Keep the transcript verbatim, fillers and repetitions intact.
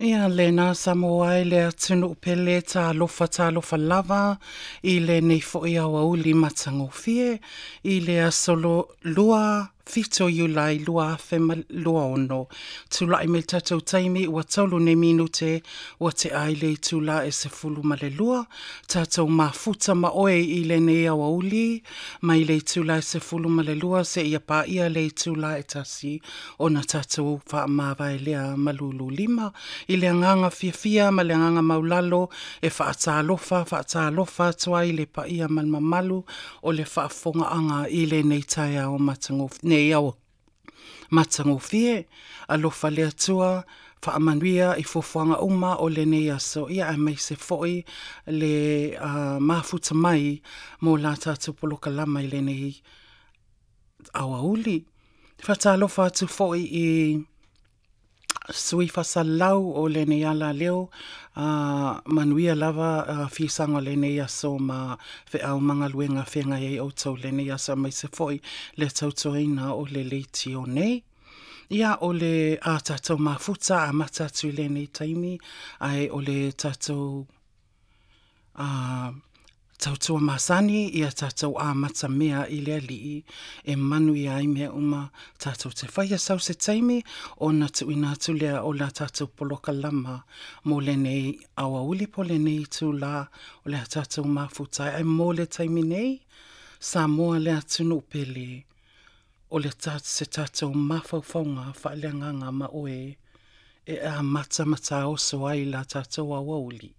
Ia lena Samoa e le atunuu pele, talofa talofa lava i lenei foi aoauli matagofie i le aso lua fitu o Iulai lua afe ma lua ono. Tula'i mai le tatou taimi ua tolu nei minute ua te'a ai le itulā e sefulu ma le lua, tatou mafuta ma oe i lenei aoauli mai le itulā e sefulu ma le lua seia pa'ia le itulā e tasi ona tatou faamavae lea ma lululima i le agaga fiafia ma le agaga maulalo e faatalofa, faatalofa atu ai i le paia ma le mamalu o le faafofogaaga i lenei taeao matagofie, nei matagofie. Alofa le Atua faamanuia i fuafuaga uma o lenei aso, ia aemaise foi le mafuta mai mo la tatou polokalama i lenei aoauli. Faatalofa atu foi i sui faasalalau o lenei alaleo, a manuia lava fisaga o lenei aso ma feau ma galuega feagai ai outou i lenei aso aemaise foi le tautuaina o le leitio nei. Ia o le a tatou mafuta amata atu i lenei taimi, ae o le tatou a tautua masani ia tatou amata mea i le Alii e manuia ai mea uma tatou te faia. Sau se taimi ona tuuina atu lea o la tatou polokalama mo lenei aoauli po o lenei itulā o le a tatou mafuta ai. Ae mo le taimi nei, Samoa le atunuu pele, o le se tatou mafaufauga faaleagaga ma oe e amata ma taoso ai la tatou aoauli.